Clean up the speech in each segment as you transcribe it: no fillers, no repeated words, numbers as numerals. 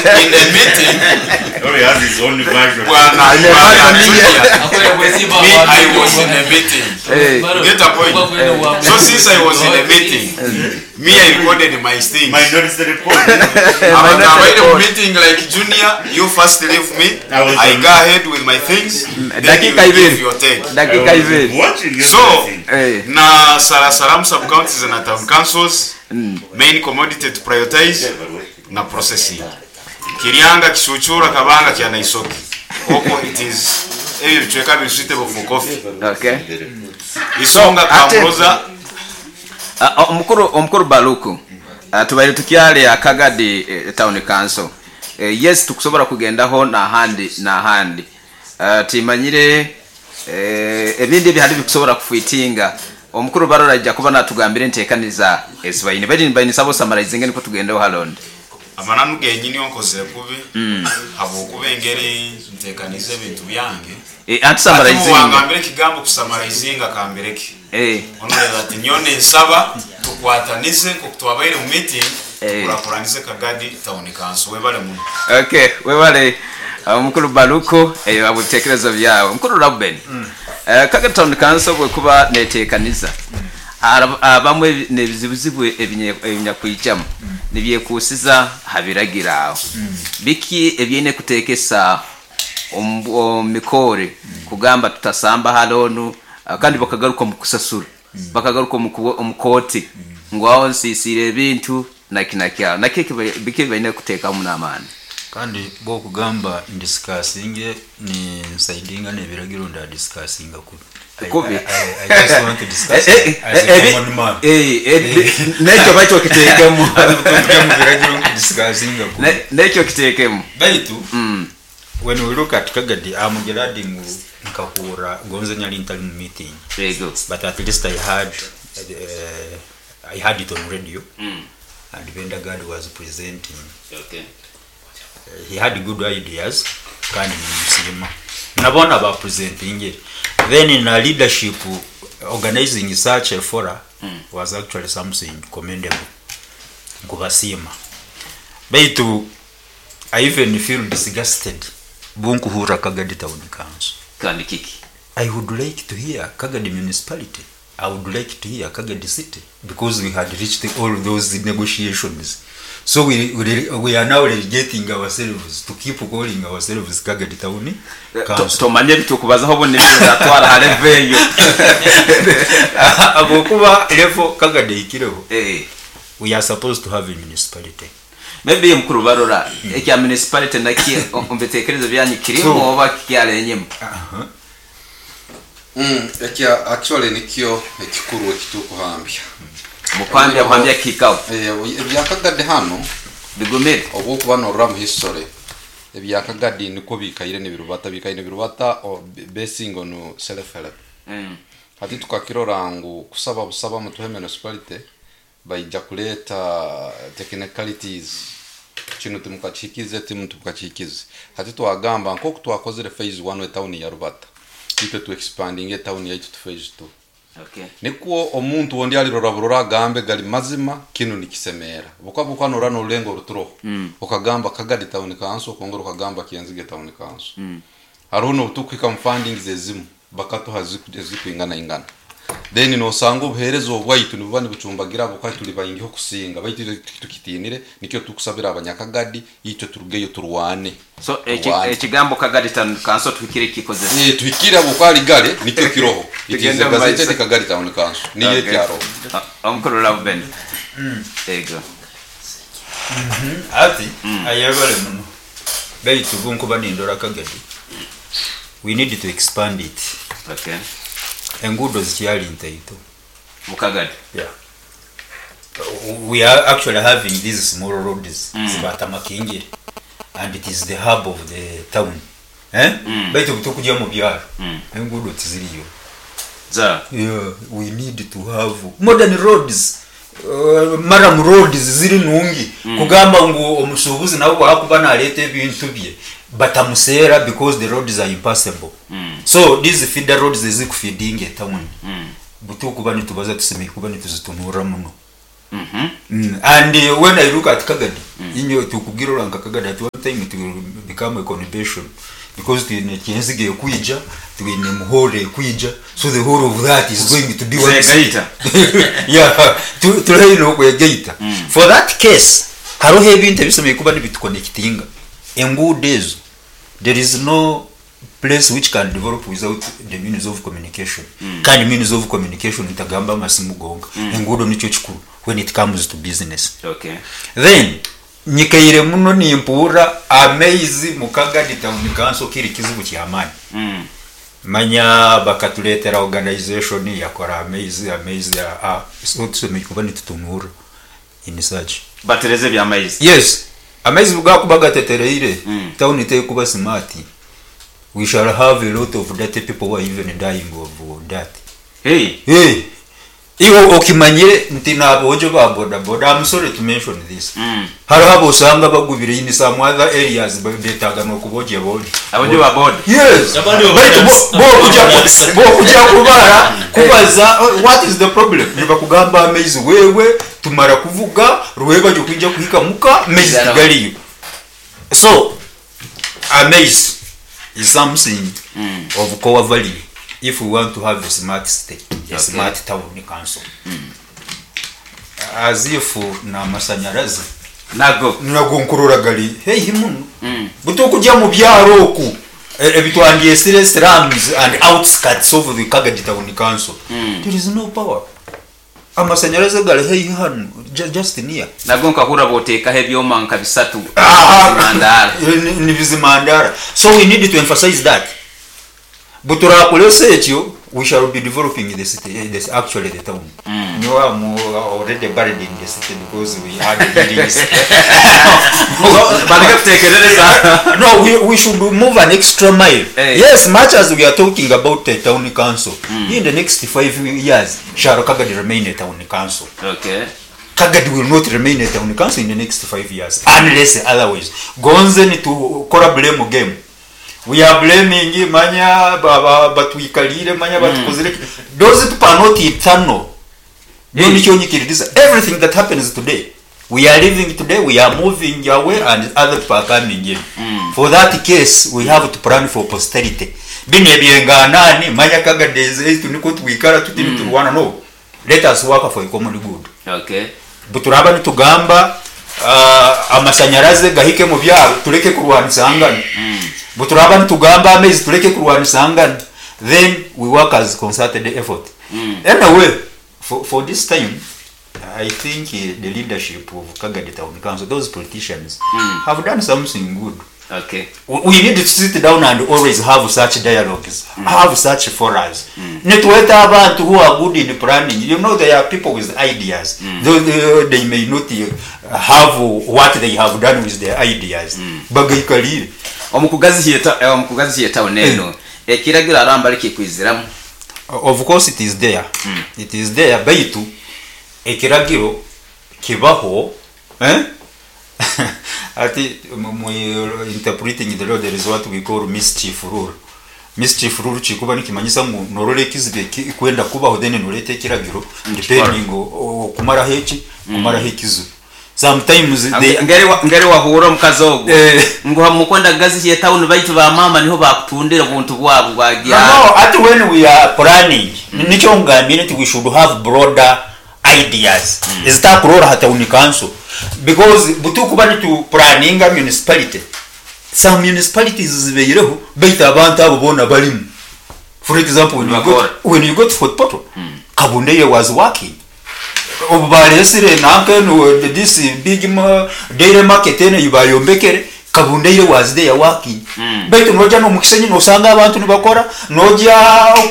in a meeting He has his own version. Bwana Aine Bwana version ye. Junior, me I was in a meeting. Eh. You get a point? So since I was in a meeting, me I recorded my things. Minority report. Abantu Minority abaire mu report. meeting like Junior, you first leave me, I was I on- go ahead with my things, then you Dakika give ibiri. your take. I Dakika was ibiri. watching So, everything. Eh. na Sarasaramu sub-counties na town councils, main commodity to prioritize na processing. Kiryanga, Kishuchura, Kabanga, Kyanaisoki. Okwo it is ebyo ebicweka biri suitable for coffee. Okay. Isonga, Ate- Kamroza, Omukuru omukuru Baluku tubaire tukyali aha Kagadi Town Council. Yes tukusobora kugendaho nahandi nahandi. Timanyire ebindi ebihari bikusobora kufitinga. Omukuru Barora aija kuba natugambira entekaniza ezi baine. Baitu nibaine saba osamarayizinge nikwo tugendeho Harold. Amananu genyini onkozire kubi habwokuba engeri ntekaniize ebintu byange. Anti Hati obu samarayizinga. wangambira ekigambo kusamarayizinga kambireke. Onoreba ati nyowe ninsaba tukwatanize nkoku twabaire mu meeting tukurakuranize Kagadi Town Council. Webale muno. Okay, webale Omukuru Baluku eyo habw'ebitekerezo byawe. Mukuru Rauben, Kagadi Town Council bwekuba netekaniza habamu n'ebizibuzibu ebinyakwijamu nibyekuusiza ha biragiro aho. Biki ebyaine kutekesa omu mikoore kugamba tutasamba ha loonu kandi bakagaruka omu kusasura bakagaruka omu kooti ngu aho nsiisiire ebintu naki naki aho nakyo biki ebi baine kuteekamu n'amaani. Kandi bwokugamba ndisikasinge ni nsaidinga nebiragiro ndadisikasinga kubi. Kubi. I just want to discuss as a common man. Nekyo bakyo okiteekemu. Tujya mu biragiro nkudisikasinga kubi. Nekyo okiteekemu. Baitu when we look at Kagadi, I'm glad ngu nkahurra gonze nyali ntali mu meeting. Yego. But at least I had it on radio. And Benda Gad was presenting. Okay. He had good ideas kandi nimusiima. Nabona ba presenting. Then in a leadership organizing such a forum was actually something commendable. Nkubasiima. Baitu I even feel disgusted bunkuhurra Kagadi Town Council. Kandi kiki? I would like to hear Kagadi Municipality. I would like to hear Kagadi City because we had reached all those negotiations. So we are now relegating ourselves to keep calling ourselves Kagadi Town Council. Tomanye ebitukubazaho obundi nibizatwara ha level eyo. Habwokuba level Kagadi ehikireho. We are supposed to have a municipality. Maybe mukuru Barora ekya municipality nakyo omu bitekerezo byanyu kirimu oba kikyali enyima? Ekya actually nikyo ekikuru ekitukuhambya. Mukwambya kuhambya kikaho. Ebya Kagadi hanu bigumire. Obwokuba norora mu history ebya Kagadi nikwo bikaire nibirubata bikaire nibirubata basing on self help. Hati tukakirora ngu kusaba busaba mutuhe municipality baija kuleta technicalities kinu timukakihikize timu timukakihikize. Hati twagamba nkoku twakozire phase 1 etown ya Rubata itwe tu expanding etown yaitu to phase 2. Nikwo omuntu ondi alirora burora agambe gali mazima kinu nikisemera. Buka buka norora norulengo ruturoho. Okagamba Kagadi Town Council okongera okagamba Kienzige Town Council. Hariho nobutukuhika mu fundings ezimu bakatuha ezikwingana ingana. Then nosanga obuheereza obwaitu nibuba nibucumbagira ahabwokuba turi baingiho kusinga baitu tukitinire nikyo tukusabira abanyakagadi itwe turugeyo turwane. So Turwane. ekigambo Kagadi Town Council tuhikire kikozesa. Tuhikire ahabwokuba ari gare nikyo kiroho. It is Tugende a mu maiso. gazetted Kagadi Town Council. Niyo ekyaro. Omukuru Reuben. Ego. Ati ayebale muno. Baitu bunkuba nindora Kagadi. We need to expand it. Okay. Enguudo zikyali ntaito. Mukagadi. Yeah. We are actually having these small roads zibata makingire and it is the hub of the town. Baitu butukujya mu byaro. Enguudo tiziriyo. Za. Yeah, we need to have modern roads. Murram roads ziri nungi. Kugamba ngu omusuubuzi nawe bwakuba naleeta ebintu bye batamuseera because the roads are impassable. So these feeder roads ezikufeeding a town. Butukuba nitubaza tusemeye kuba nituzitunura muno. And when I look at Kagadi, inyo tukubwira ora nka Kagadi at one time it will become a conurbation because twine Kyenzige ekwija, twine Muhorro ekwija, so the whole of that is going to be one city. Zegaita. Yeah, turi okwegaita. For that case, hariho ebintu ebisemeriire kuba nibituconnectinga. Enguudo ezo, there is no place which can develop without the means of communication. Kandi means of communication ntagamba amasimu gonka. Enguudo nikyo kikuru when it comes to business. Okay. Then nyikaire muno nimpurra amaizi mu Kagadi town council kiri kizibu ky'amaani. Manya bakatureetera organization yakora amaizi, amaizi a so tusemeriire kuba nitutunurra in such. Batereze eby'amaizi. Yes, amaizi bugakuba gatetereire, town tekuba smart. We shall have a lot of dirty people who are even dying of dirt. Hey. Hey. Iwe okimanyire nti n'aboojo ba boda boda, I'm sorry to mention this. Hariho abosanga bagubire in some other areas betaaga n'okubogya bojo. Abojo ba boda. Yes. Abandi bo Baitu badansa. bo kuja kubara kubaza, oh, what is the problem? Nibakugamba amaizi wewe tumara kuvuga rweba kwija kuhika muka amaizi tigariyo. So amaizi is something of core value if we want to have a smart state, a smart town council. As if n'amasanyarazi Nago. Nago nkurora gari heihi muno. Butukujya mu byaro oku ebitwandyesire slums and outskirts of the Kagadi town council. There is no power. Amasanyarazi gari heihi hanu just near. Nago nkahurra boteekaho ebyoma nka bisatu. Ah, Bizimandara. Ni bizimandara. So we need to emphasize that. Buturakoresa ekyo, we shall be developing the city, this actually the town. No, I'm already buried in the city because we had buildings. Bandika kutekerereza. No, we should move an extra mile. Hey. Yes, much as we are talking about the town council, in the next 5 years, shall Kagadi remain a town council? Okay. Kagadi will not remain a town council in the next 5 years, unless otherwise. Gonze ni to kora blame game. We are blaming manya batwikalire manya batukozire. Those people are not eternal. Hey. Everything that happens today, we are living today, we are moving away, and other people are coming in. For that case, we have to plan for posterity. Bine byenganani manya Kagadi niko twikara tuti turwana no. Let us work for a common good. Okay. Buturaba nitugamba amasanyarazi gahike mu byaro tureke kurwanisangana. Buturaba nitugamba amaizi tureke kurwanisangana. Then we work as concerted effort. Anyway, for this time, I think the leadership of Kagadi Town Council, those politicians, have done something good. Okay. We need to sit down and always have such dialogues, have such forums. Nitweta abantu who are good in planning. You know, there are people with ideas. Though they may not have what they have done with their ideas. Bagaikalire. Omukugazi town eno. Ekiragiro aramba likikwiziramu. Of course it is there. It is there. Baitu ekiragiro kibaho, eh? Ati interpreting the law, there is what we call mischief rule. Mischief rule kikuba nikimanyisa ngu norora ekizibu kwenda kubaho, then noreta ekiragiro depending okumaraho eki, kumaraho ekizibu. Sometimes they Ngeri wahura omukazi ogwo. Ngu hamukwenda gazi town baitu ba mama niho bakutundira obuntu bwabo bwagira. No, ati when we are planning, nikyo ngambire nti we should have broader ideas. Ezitakurora ha town council. Because butukuba nitu planninga municipality. Some municipalities zibeireho baitu abantu abo bona barimu. For example, when you go to Fort Portal, Kabundeye was working. Obu baresire nanka no this big dairy market ene ibayombekere, Kabundeye was there working. Baitu noja no mukisenyi nosanga abantu nibakora, noja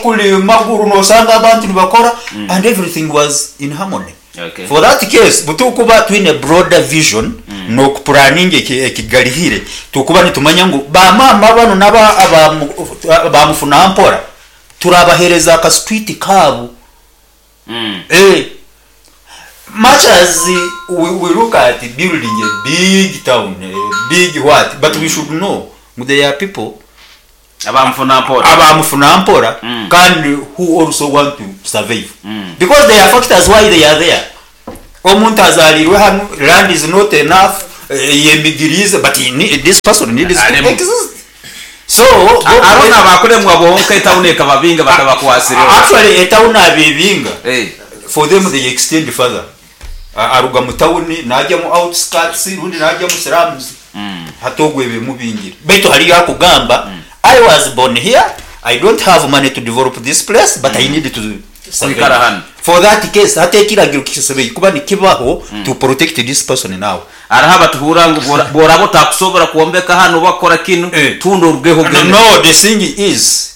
kuli maguru nosanga abantu nibakora, and everything was in harmony. Okay. For that case, butukuba twine broader vision, no planning ekigarihire, tukuba nitumanya ngu ba mama bano naba abamufuna mpora turabahereza ka street kabu. Much as we look at building a big town, a big what, but we should know there are people abamufuna mpora kandi who also want to survive. Because there are factors why they are there. Omuntu azaariirwe hanu, land is not enough, eyemigiriize but he need, this person needs to Aremwa. exist. So, bo, Hariho n'abakuremwa bonka etawuni ekababinga batabakwasireho. actually etawuni abebinga, Eh. for them they extend further. Aruga mu tawuni najya mu outskirts rundi najya mu slums. Hati ogwo ebimubingire. Baitu hariyo akugamba, I was born here, I don't have money to develop this place, but I need to survive. Kwikara hanu. For that case, hati ekiragiro kisemereire kuba nikibaho to protect this person now. Hariho abatuhurra ngu bworaba otakusobora kwombeka hanu oba kukora kinu, Eh. tunda orugeho No, ogende. no, the thing is,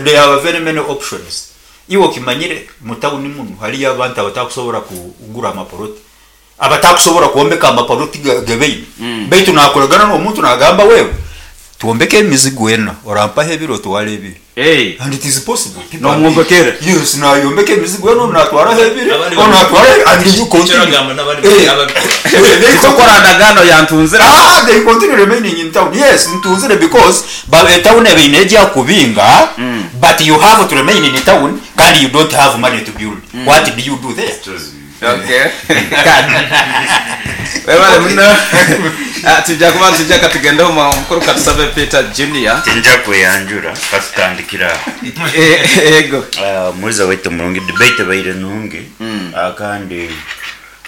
there are very many options. Iwe okimanyire mu tawuni munu hariyo abantu abatakusobora kugura amapoloti, abatakusobora kwombeka amapoloti gebeine. Baitu nakoragana n'omuntu nagamba wewe twombeke emizigo ena, orampaho ebiri otware ebiri. Eh. And it is possible. People are Nomwombekere. Yes, nayombeka emizigo ena, onu natwaraho ebiri, Abandi onu natwaraho ebiri, and you continue. Ekyo n'abandi Eh. ababikora. Eh, they Tokora ndagano yantunzire. Ah, they continue remaining in town. Yes, ntunzire because ba town ebeine ejya kubinga, but you have to remain in town kandi you don't have money to build. What do you do there? Okay. Kandi. Webale muno. Ah, tujja kuba nitujja katugendeho mukuru Katusabe Peter Junior. Tinja kweyanjura katutandikira aho. Eh, ego. Ah, Omuhuriza waitu murungi debate ebaire nungi. Ah, kandi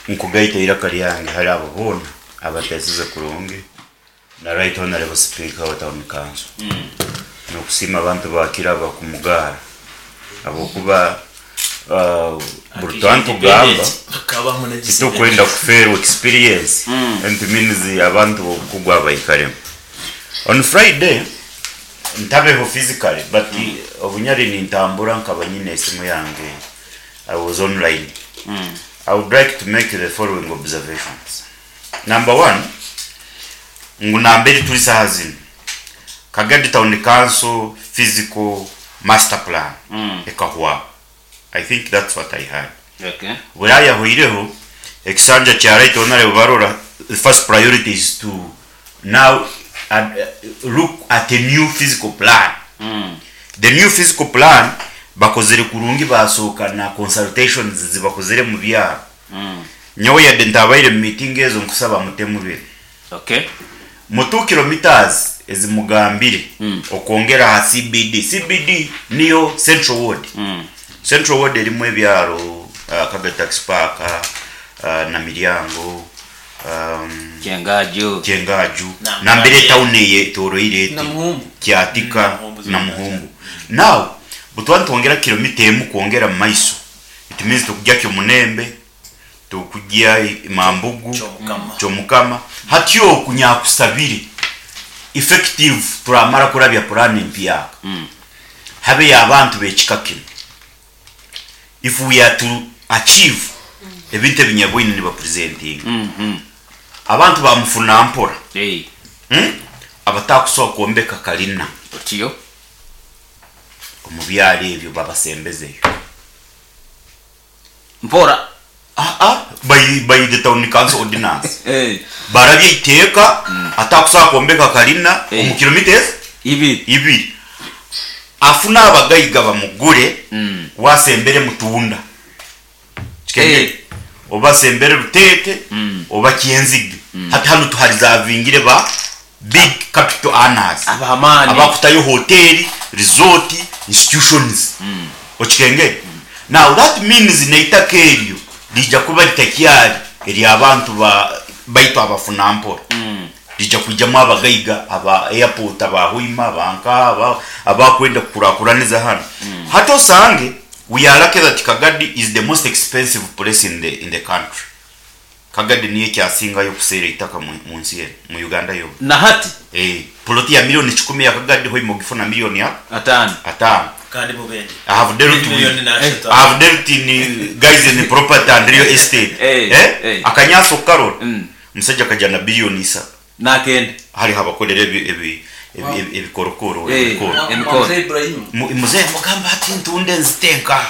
nkugaita eiraka ryange hari abo boona abateesize kurungi na right honorable speaker wa town council. Nokusiima abantu ba Kiraba kumugaara ahabw'okuba ah, buri twantugamba titukwenda kufeerwa experience and it means abantu b'obukugu abaikaremu. On Friday ntabeho physically but obunyari nintambura nkaba nyine esimu yange, I was online. I would like to make the following observations. Number one, ngu nambere turi saha zinu Kagadi Town Council physical master plan ekahwaho. I think that's what I heard. Okay. Buriya yahwireho ekisanja kya right honorable barora, the first priority is to now look at a new physical plan. The new physical plan bakozere kurungi, basohoka na consultations zibakozere mu byaro. Nyowe yadde ntabaire mu meeting ezo, nkusaba mutemu biro Okay. mu 2 kilometers ezimugambire okwongera aha CBD. CBD niyo Central Ward. Central Ward erimu ebyaro Kagadi Taxi Park, na Miryango, Kyengaju. Kyengaju, Na- nambere town eye etoroire eti Na Muhumbu. Kyatika Muhumbu na Muhumbu. Now butwa nitwongera kilomita emu kwongera mu maiso, it means tukujya Kyomunembe, tukujya Mambugu, Kyomukama. Kyomukama. Hatyo okunyakusabire effective turamara kurabya plan empyaka habe abantu bekika kinu, if we are to achieve ebintu ebinyabwine nibapresentinga abantu bamufuna mpora. Eh. Abatakusobola kwombeka kalina Otiyo. omu byaro ebyo babasembezeyo. Mpora. Ah, ah, by the town council ordinance. Eh. Barabye iteeka atakusobola kwombeka kalina omu kilomita ezi Ibiri. ibiri, afuna abagaiga bamugure, wasembere mutunda Kikenge? Eh. Oba sembere Rutete oba Kyenzige. Hati hanu tuharizavingire ba big capital earners Abamani. abakutayo hoteli, resort, institutions. Okikenge? Now that means neitaka eryo lija kuba litakyari eryabantu ba baitu abafuna mpora, lija kwijamu abagaiga aba airport, abahoima, abanka abakwenda kukurakuraniza hano. Hati osange we are lucky that Kagadi is the most expensive place in the country. Kagadi niyo ekyasingayo okuseera eitaka mu nsi eno, mu Uganda yona. Na hati. Eh, poloti ya milioni 10 ya Kagadi hoima ogifuna milioni ya 5. 5. Kandi mubende. I have dealt with Milioni na eshatu. I have dealt in guys in property and real estate. Eh, Eh? eh. Akanyaso karora. Musajja akajana billioni 3. Nakende. Hariho abakorera ebikorokoro, Eh. ebikoro. Emikoro. Mzee Ibrahim. Muzehe mugamba ati ntunde nzitenka.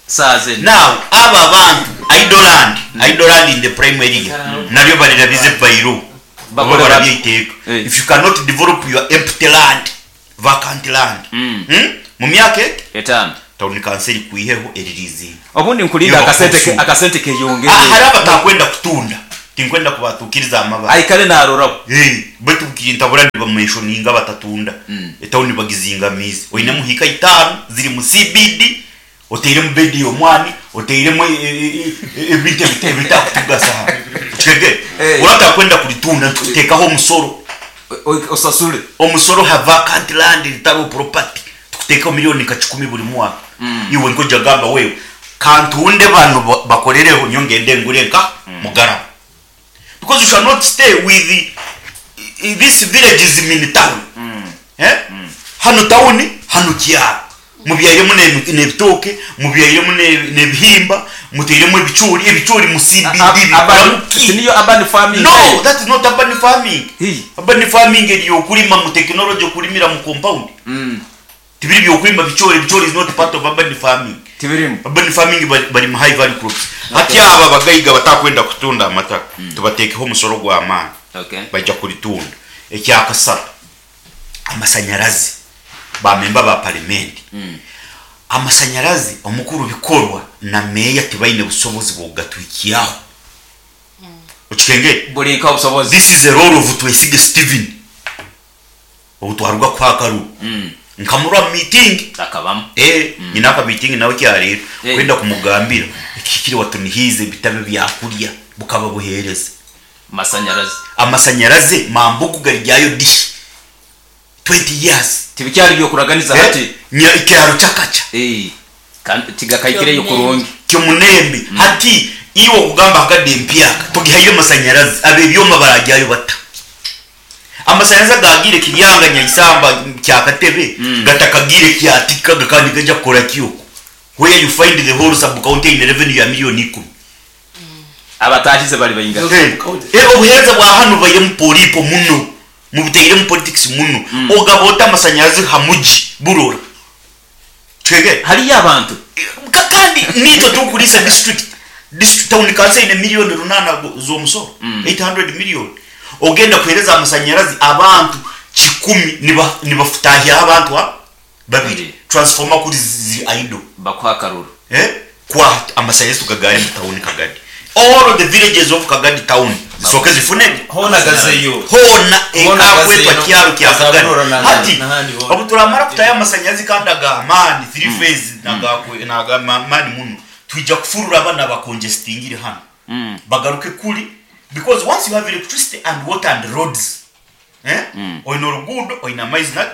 Saaze. Now aba bantu idle land, idle land in the prime area naryo barirabize bayiro. Bakore Baba barabyiteeka. Eh. If you cannot develop your empty land, vacant land. Mu myaka 5. Tawuni kanso erikwiheho eririizinga. Obundi nkulinda Niyo akasente bakuconsume. akasente keyongere. Hariho abatakwenda kutunda, tinkwenda kubatukiriza amabara. Aikare naroraho. Baitu kintabura nibamenshoninga abatatunda. Etawuni bagizingamiize. Oinemu hiika itaano ziri mu CBD, oteiremu bedi y'omwani, oteiremu ebintu ebitakutugasa hanu. Okitegeera? Oratakwenda kuritunda nitukuteekaho omusoro. Osasule. Omusoro ha vacant land ritariho property tukuteekaho million nka kikumi buri mwaka. Iwe nk'oija kugamba wewe kantunde banu bakorereho nyowe ngende ngure nka mugarama. Because you shall not stay with this village is mini town. Eh? Hanu town, hanu kyaro. Mubyairemu n'ebitooke, mubyairemu n'ebihimba, mutairemu ebicoori, ebicoori mu CBD bikuramu ki? Tiniyo urban farming No, eyo? that is not urban farming. Hii. Urban farming eri okurima mu technology okurimira mu compound. Tibiri by'okurima bicoori, ebicoori is not part of urban farming. Tibirimu. Urban farming barima high value crops. Hati aba abagaiga abatakwenda kutunda amataka, tubateekeho omusoro gw'amaani. Okay. Baija kuritunda. Ekyakasatu, amasanyarazi. Ba memba ba parimenti, amasanyarazi omukuru bikorwa na meeya tibaine busobozi bw'okugatwikyaho. Okikengere? Buri nka obusobozi. This is a role of Twesige Steven obu twaruga kuha akaruru. Nkamurora mu miitingi. Akabamu. Ee, nyine akamiitingi nawe kyarero Eh. kwenda kumugambira ekihikire watunihiize bitabe byakurya bukaba buheereza. Masanyarazi. Amasanyarazi mambugu garyayo dishi. 20 years. Tibikyari by'okuraganiza hati. Nya ekyaro kyakakya. Eh, kandi tigakaikireyo kurungi. Kyomunembe. Hati iwe okugamba hakade empyaka togihaire amasanyarazi ab'ebyoma baragyayo bata? Amasanyarazi agagiire Kiryanga, Nyaisamba, Kyakatebe gatakagiire Kyatika gakaba nigaija kukora ki okwo? Where you find the whole sub county eine revenue ya million ikumi. Abataahize bari baingahi? Obuheereza bwa hanu bubairemu polipo muno, mubutairemu politics muno. Ogaba ota amasanyarazi ha mugi burora? Kitegeera? Hariyo abantu. Kandi niitwe turikuriisa district. District town council eine million runaana z'omusoro, 800 million. Ogenda kuheereza amasanyarazi abantu kikumi nibafutahyaho abantu babiri. Transformer kuri ziri idle. Bakuha akaruru. Kwa amasanyarazi tugagaare mu tawuni Kagadi. All the villages of Kagadi town zisooke zifune Hoona gazeyo. Hoona Hoona ekakwetwa gazeyo. kyaro kya Gaza Kagadi. Bunooro na- Hati n'ahandi hoona. obu turamara kutayo amasanyarazi kandi ag'amaani, three phase n'ag'amaani muno, twija kufurura abana abakonjestingire hanu bagaruke kuri because once you have electricity and water and roads, eh, oine oruguudo, oine amaizi na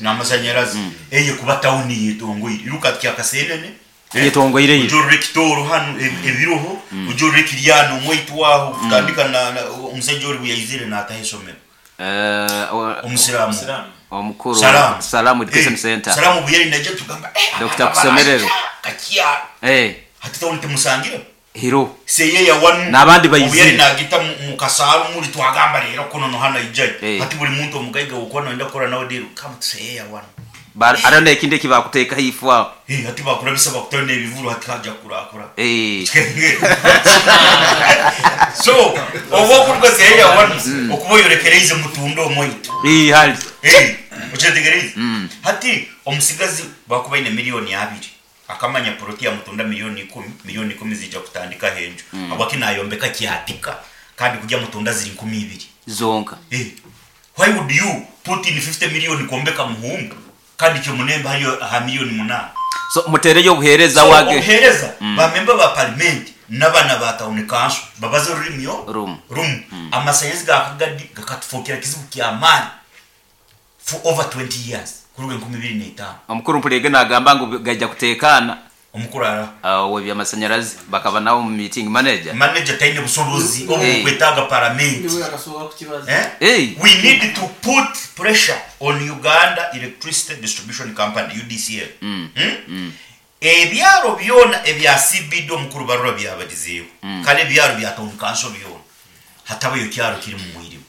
n'amasanyarazi, eyo ekuba tawuni eyetongoire. Iruka Kyakasenene, Eyetongoire ojye orore Kitooro hanu ebiroho, ojye orore Kiryana omwaitu aho kutandika na omusaija ori obu yaizire naataha eishomero. Omusiraamu. Omukuru Salaamu. Salaamu Education Centre. Salaamu obu yari naija tugamba, eh, Dokita aba Kusemererwa. Kakyaro. Hati tawuni temusangiremu. Hiro. Seyeya wanu. N'abandi Obu yari baizire. naagita mu kasaaru muri twagamba reero kuno noha naijayo. Eh. Hati buri muntu omugaiga wokuba noyenda kukora nawe deal, come to Seyeya wanu. Hariho n'ekindi eki baakuteekaho ifu aho. Eh, hati baakurabisa bakutaho n'ebivuru hati haja kurakura. Eh. So, obu okuruga Seyeya wanu, okuba oyorekereize Mutunda omwaitu. Eh, hari. Eh, okyetegereize? Hati omutsigazi baakuba aine million abiri. Akamanya puroti ya Mutunda milioni ikumi, milioni ikumi ziija kutandikaho enju. Habwaki nayombeka Kyatika kandi kurya Mutunda ziri 2000? Zonka. Eh, why would you put in 50 million kwombeka Muhunga kandi Kyomunembe hariyo aha milioni munaana? So muteereyo obuheereza So, wage. obuheereza, ba memba ba parimenti n'abaana ba tawuni kanso babaze orurimi oru Rumu. Rumu. Amasanyarazi ga Kagadi gakatufookera kizibu ky'amaani for over 20 years kuruga 2005. Omukuru Mpuriege nagamba ngu gaija kuteekaana. Omukuru araha? Ow'ebyamasanyarazi bakaba nawe omu meeting manager. Manager taine busobozi obu burikwetaaga paramenti. Niwe akasooka kukibaza. Eh? We need to put pressure on Uganda Electricity Distribution Company, UDCL. Ebyaro byona ebya CBD omukuru Barura byabarizeeho. Kare ebyaro bya town council byona. Hatabayo kyaro kiri mu mwirima.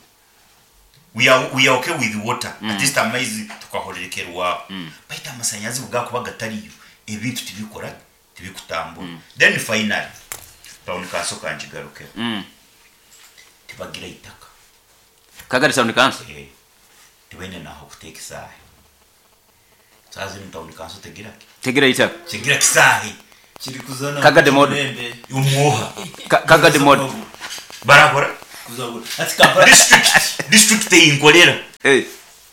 We are, we are okay with water. At least amaizi tukahorerekerwaho. Baitu amasanyarazi kugakuba gatariyo, ebintu tibikora, tibikutambura. Then finally, town council kangigarukeho. Tibagira eitaka. Kagari town council? Eh. Tibaine naho kuteeka esaaha. Saaha zinu town council tegira ki? Tegira itaka. Tegira kisaahi. Kagadi model. Omwoha. Kagadi model. Barakora district district eyinkorera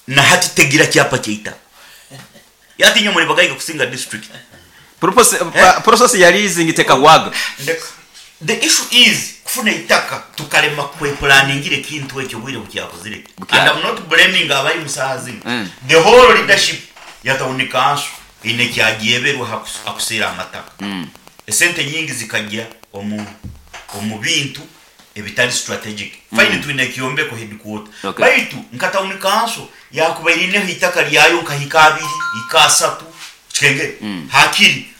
na hati tegira kyapa kyeitaka. Hati inywe muri bagaiga kusinga district. Process ya leasing tekahwaga. Ndeka. The issue is kufuna eitaka tukarema kwepulaningira ekintu ekyo obwire bukyakuzire and am not blaming abarimu saaha zinu the whole leadership ya town council eine ekyagyeberwe hakuseera amataka. Esente nyingi zikagya omu omu bintu ebitari strategic. Fine twine ekyombeko headquarter baitu nka town council yakubaire eineho eitaka ryayo nka hika abiri, hika asatu okitengere? Hakiri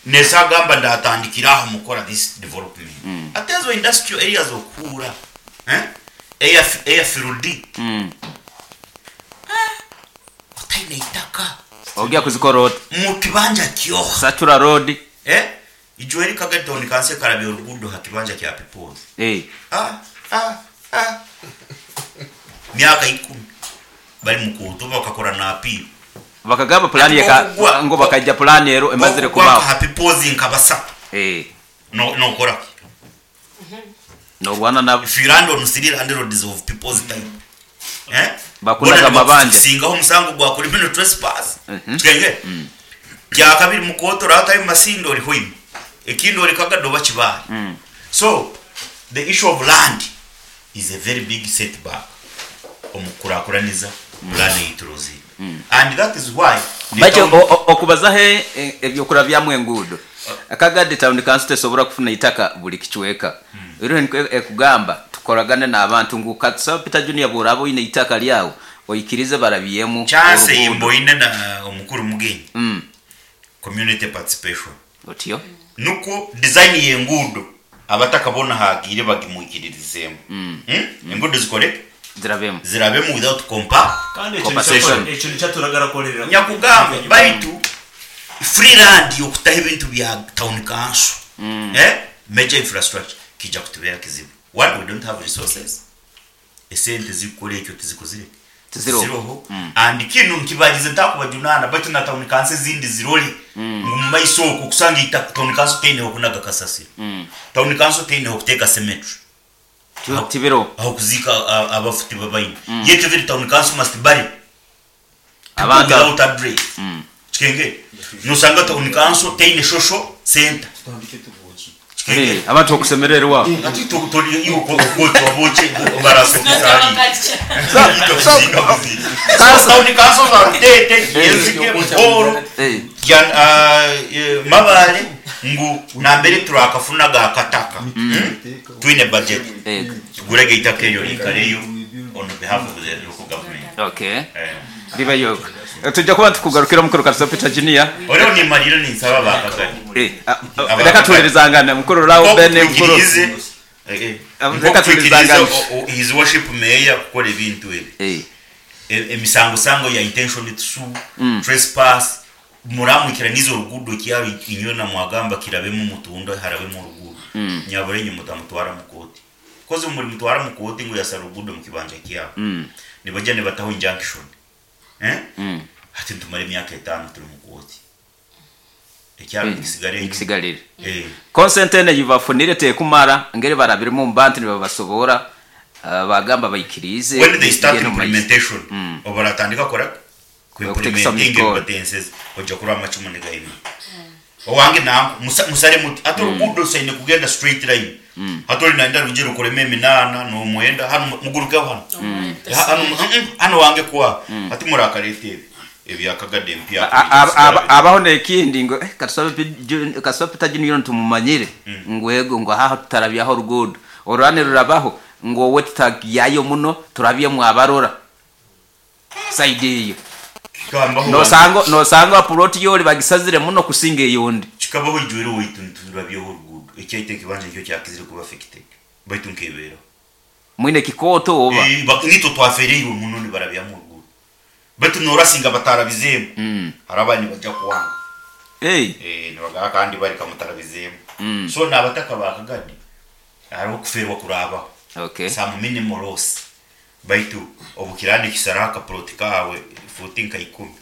Nesagamba ndatandikira aha mukora this development. Ate ezo industrial areas okuhura eh eya eya field otaine itaka. Ogya kuzikora ota? Mu kibanja kyoha? Satura road. Eh ijo eri Kagadi town council ekarabya oruguudo ha kibanja kya People's. Eh. Ah ah ah myaka ikumi bari mu kooti oba bakakora na appeal. Bakagamba pulaani Hati eka bwokugwa ngu bakaija pulaani ero emazire bwokugwa nka kubaho. ha People's nka basatu Eh. no nokora ki? Norwana nabo. If you land on three landlords of people's type eh bona Bakunaga amabanja. nibakusingaho omusango gwa criminal trespass. Kikengere? Kyakabiri mu kooti oratayo Masindi ori Hoima ekindi ori Kagadi oba Kibaale. So the issue of land is a very big setback omu kukurakuraniza pulaani ei turozire and that is why the Baitu town okubazaho eby'okurabyamu enguudo, Kagadi Town Council tesobora kufuna itaka buri kicweka. Eriho nikwo ekugamba tukoragane n'abantu ngu katusaba Peter Junior bw'oraaba oine itaka ryawe oikirize barabyemu Chance ei oruguudo. mboine na omukuru Mugenyi, community participation. Otyo. Nukwo design y'enguudo abataka boona haagiire bagimwikiririzeemu. Enguudo zikore ki? Zirabemu. Zirabemu without compa. Kandi ekyo nikyo Compensation. ekyo nikyo aturagarakorera. Nyakugamba baitu free land y'okutaho ebintu bya town council, eh, major infrastructure kiija kutubeera kizibu. One, we don't have resources. Esente zikukora ekyo tizikozire ki? Tiziroho. Tiziroho. And kinu nkibarize ntakubajunaana baitu na town council ezindi zirore ngu mumaiso okwo kusanga eitaka town council teine hokunaga kasasiro. Town council teine hokuteeka cemetery. Tibiroho. Ahokuziika abafu tibabaine. Yet every town council must bury people Abantu without address. Kikengere? Nosanga town council teine social centre. Eh, abantu okusemererwa. Hati tori iwe okwotwa boche barasokisali. Council- Town council za Rutete, Yenzike, Buhoro, Eh. Mabale ngu nambere turakafunaga akataka. Twine budget. Eh, Tugurege itaka eryo riikareyo on behalf of the local government. okay. Eh. Ribayo. Tujja kuba tukugarukira mukuru Karuso Peter Junior. Oriho nimarira ninsaba bakagari. Eh, reka tuhulirizangane mukuru Rao Ben mukuru. Twikirize eh, Reka nko twikirize tuhulirizangane. his worship mayor kukora ebintu ebi. Eh. Emisango sango ya intention to sue, trespass, muramwikiraniza oruguudo kyaro inywe na mwagamba kirabemu mutunda harabemu oruguudo. Nyabura inywe mutamutwara mu kooti. Kozi muri mutwara mu kooti ngu yasara oruguudo mu kibanja kyabo. Nibaija nibataho injunction. Eh? Hati nitumara emyaka etaano turi mu kooti. Ekyaro nikisigara enyima. Nikisigarire. Eh. Consent eno eyibafunire tekumara ngeri barabirimu omu bantu nibabasobora bagamba baikirize When they start bigende omu maiso. implementation, obaratandika kora ku Okuteekesa omu implementing mikono. ebibatenseze oija kurora amacumu nigaima. Owange nanku musare muti hati oruguudo rusaine kugenda straight line. Hati ori nayenda rwije rukoremu eminaana nomwenda hanu mugurukeho hanu. Hanu hanu wange kuha hati murakareeta ebi ebya Kagadi empya. Abaho n'ekindi ngu katusabe Peter Junior nitumumanyire ngu ego ngu haha tutarabyaho oruguudo orurane rurabaho ngu owe tutagyayo muno turabyemu abarora sayidi eyo. Kikabaho Nosanga puloti yori bagisazire muno kusinga eyondi. Kikabaho ijwire owaitu niturabyaho oruguudo ekyaitu ekibanja nikyo kyakizire kuba affected baitu nkebeeraho. Mwine kikooto oba? Nitwe twafereirwe muno nibarabyamu oruguudo baitu norasinga batarabizeemu hariho abandi nibaija kuwanga. Nibagamba kandi bareka mutarabizeemu. So n'abataka ba Kagadi hariho okufeerwa kuraabaho. Some minimal loss baitu obu kiraaba nikisaraho akapuloti kaawe fuuti nka ikumi.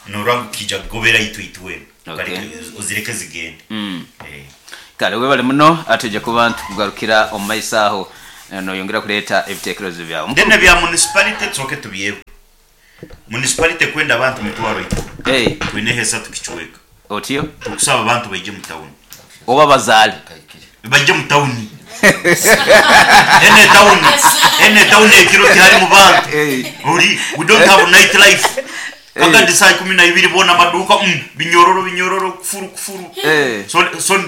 Norora ngu kiija kugobera itwe itwena. Okay. Kareke ozireke zigende. Eh. Kale webale muno atwija kuba nitukugarukira omu maiso aho noyongera kureeta ebitekerezo byawe. Then ebya municipality tusooke tubyewe. Municipality ekwenda abantu 30,000. Hey. Twineho esatu kicweka. Otyo? Tukusaba abantu baije mu tawuni. Oba bazaale. Baije mu tawuni. Ene tawuni, ene tawuni ekiro tiharimu bantu. Ori, we don't have night life. Kagandi saa 12 boona amaduuka mm, binyororo binyororo kufuru kufuru. So, so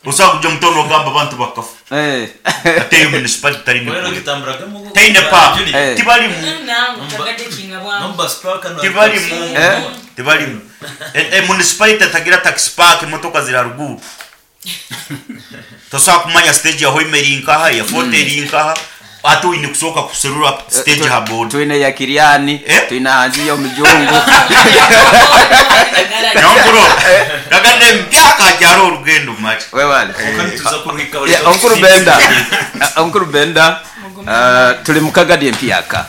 osobola kuja mu tawuni ogamba abantu bakafa. Ate eyo municipality tari nikure. Taine park. Tibarimu. Tibarimu. Tibarimu. E, e municipality etagira taxi park emotoka ziri haruguru. Tosobola kumanya stage ya Hoima eri nkaha, eya Fort eri nkaha, ate oine kusooka kuserura stage aha boda. Twine eya Kiriani, twine ahansi y'omujungu. Nyonkuro, kagande empyaka hakyariho orugendo mari. Webale. Yeah, Omukuru Benda, Omukuru Benda, turi mu Kagadi empyaka.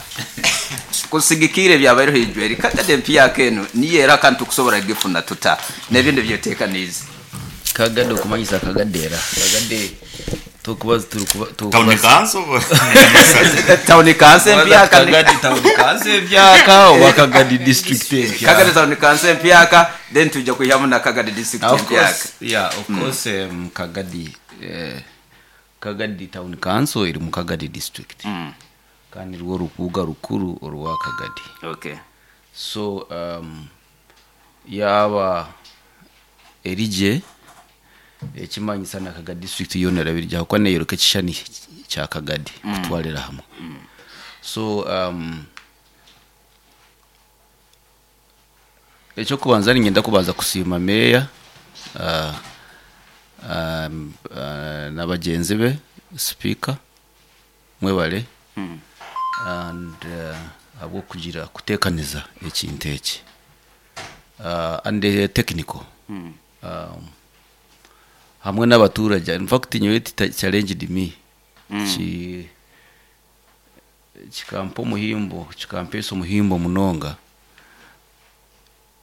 Kusigikiire ebyabaireho ijweri, Kagadi empyaka enu niyo era kandi tukusobora kugifuna tuta n'ebindi ebyoteekaniize? Kagadi okumanyisa Kagadi era Kagadi tukuba turikuba Town council Town council empyaka Kagadi town council empyaka oba Kagadi district empyaka. Kagadi town council empyaka then twija kwihamu na Kagadi district Of empyaka. course, yeah, of course Kagadi Kagadi town council eri mu Kagadi district. Kandi rwo rubuga rukuru orwa Kagadi. Okay. So yaaba erigye ekimanyisa na Kagadi district yoona erabirya ahabw'okuba neeyoreka ekishushani kya Kagadi kutwarira hamwe. So eky'okubanza niinyenda kubanza kusiima meeya na bagyenzi be, sipiika mwebare and ahabw'okugira kuteekaniza ekintu eki and the technical hamwe n'abaturage. In fact nyowe it challenged me ki kikampa omuhimbo kikampeesa omuhimbo munonga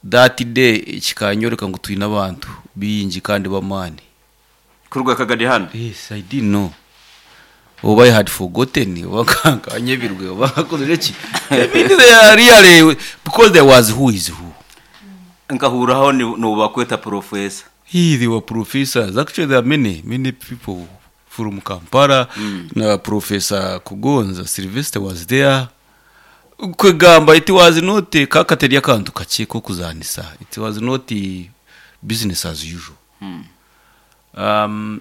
that day kikanyoreka ngu twine abantu baingi kandi b'amaani. Kuruga Kagadi hanu? Yes, I didn't know. Oba I had forgotten, oba nkanyebirwe, oba nkakozire ki. I mean, they are really, because there was who is who. Nkahurraho nibakweta professor. He, they were professors. Actually, there are many, many people from Kampala. Na Professor Kugonza, Sylvester was there. Kwegamba, it was not kakateri akantu kakye kokuzanisa. It was not business as usual.